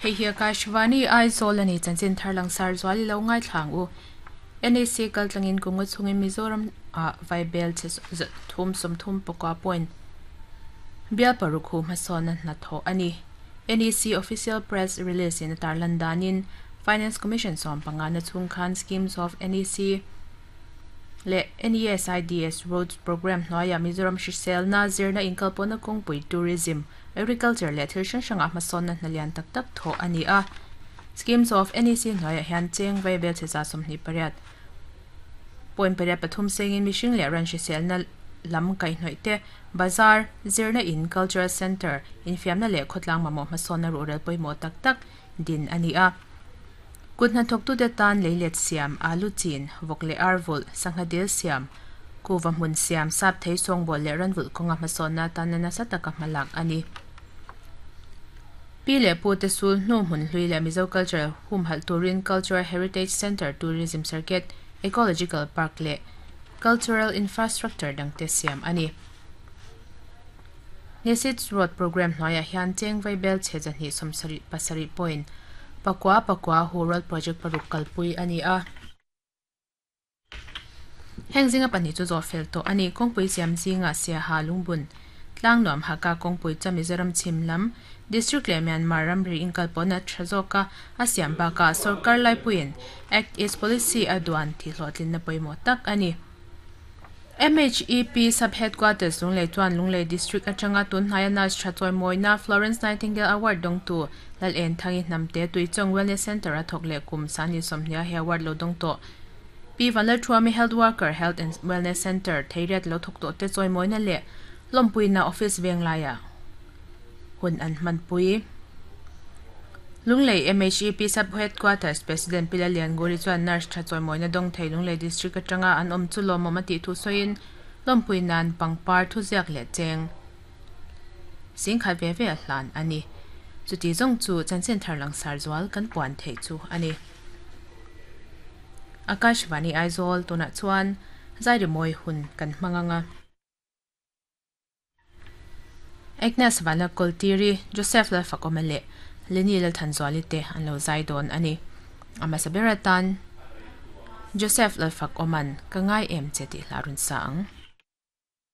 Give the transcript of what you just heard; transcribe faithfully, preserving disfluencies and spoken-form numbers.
Hei hi Akashvani Aizawl ani chanchin tharlang sar zuali lo ngai thlang u N A C kaltlangin kunga chungin Mizoram a vaibel che thum som thum pakwa point bial parukhu hmasawn na tho ani N E C official press release in tarlan danin Finance Commission som panga na chung khan schemes of N E C le N E S I D S Roads Program hnuaia Mizoram hrisel na zirna inkalpawna kawngpui tourism agriculture le thil hrang hrangah hmasawn na hnalian tak tak thaw ani a schemes of N E C hnuaiah hian cheng vaibel che za sawmhnih pariat point pariat pathum sengin mihring leh ran hrisel na lam kaihhnawih te bazar zirna in cultural center infiamna leh khawtlang mamawh hmasawn na ruhrel pawimawh tak tak din ani a kut hnathawk tu te tan leilet siam alu chin vawk leh arvul sangha dil siam kuva hmun siam sap thei sawngbawlh leh ranvulh kawnga hmasawn na tan na nasa taka hmalak ani pi leh pu te sul hnu hmun hlui leh Mizo culture humhalh turin Cultural Heritage Center Tourism Circuit Ecological Park leh Cultural Infrastructure dangte siam ani Nesits Road Program hnuaiah hian cheng vaibel che zahnih sawmsarih pasarih point pakua pakua hu road project paruk kalpui ani a heng zinga pahnih chu zawh fel tawh ani kawngpui siam zinga siaha lungbun tlang nuam haka kawngpui chu Mizoram chhim lam district leh Myanmar ramri inkalpawna tha zawka a siam bakah sarkar laipuiin Act East Policy a duan thi hlawhtlinna pawimawh tak ani M H E P sub headquarters Lunglei chuan Lunglei district atanga tunhnaia nurse tha chawimawina Florence Nightingale Award dawngtu Lal En Thangi Hnamte Tuichawng Wellness Center a thawk leh kum sani sawmhnia he award lo dawng tawh P Vanlalthuami Health Worker Health and Wellness Center theiriat lo thawk tawh te chawimawina leh lawmpuina office venglaia hun an hmanpui Lunglei M H E P sub headquarters President Pila Lianguri chuan nurse tha chawimawina dawng thei Lunglei district atanga an awm chu lawmawm a tih thu sawiin lawmpui nan pangpar thu ziak leh cheng singkhat ve ve a hlan ani chuti zawng chu chanchin tharlang sar zual kan puan thei chu ani Akashvani Aizawl tunah chuan zairimawi hun kan hmanganga Agnes Vanla Koltiri Joseph Lalfakomale Leni Lalthanzuali te an lo zai dawn ani ama saberatan Joseph Lalfakoman ka ngai em che ti hlarun sa ang.